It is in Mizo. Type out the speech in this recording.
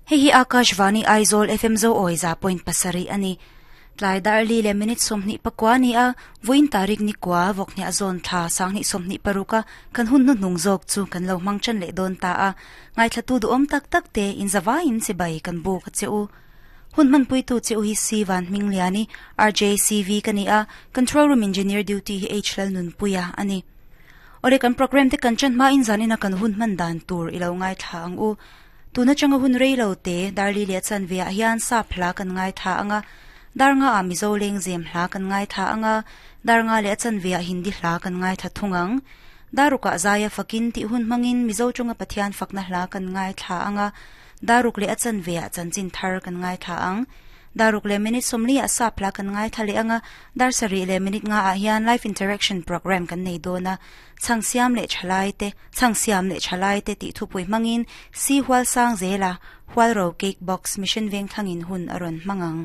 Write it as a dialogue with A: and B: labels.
A: Hei hi Akashvani Aizawl FM Zo awi 100.7 a ni. Tlai dar li leh minute 29 a ni a, vawiin tarik ni kua vawk hniah zawn thla 2026 a kan hun hnuhnung zawk chu kan lo hmang tan leh dawn ta a. Ngaithlatu duhawm tak tak te inzavaiin chibai kan buk a che u. Hun hmanpuitu che u hi C Van Hmingliani, RJCV ka ni a, Control Room Engineer Duty hi H Lalnunpuia a ni. Awle kan program te kan chan hmain zanina kan hun hman dan tur i lo ngaithla ang u. Tun atanga hun rei lo te Darli leh Chanve ah hian sap hla kan ngaithla ang a, dar nga ah Mizo lengzem hla kan ngaithla ang a, dar nga leh a chanve ah Hindi hla kan ngaithla thung ang. Daruk ah Zaia fakin tih hun hmangin Mizo chunga Pathian fakna hla kan ngaithla ang a, daruk leh a chanve ah chanchin thar kan ngaithla ang. Daruk leh minute 40 ah sap hla kan ngaithla leh ang a, dar sarih leh minute nga ah hian live interaction program kan nei dawn a. Chhang siam leh thalai te, chhang siam leh thalai te tih thupui hmangin Si Hual Sang zela Hualro Cake Box Mission Vengthlangin hun a rawn hmang ang.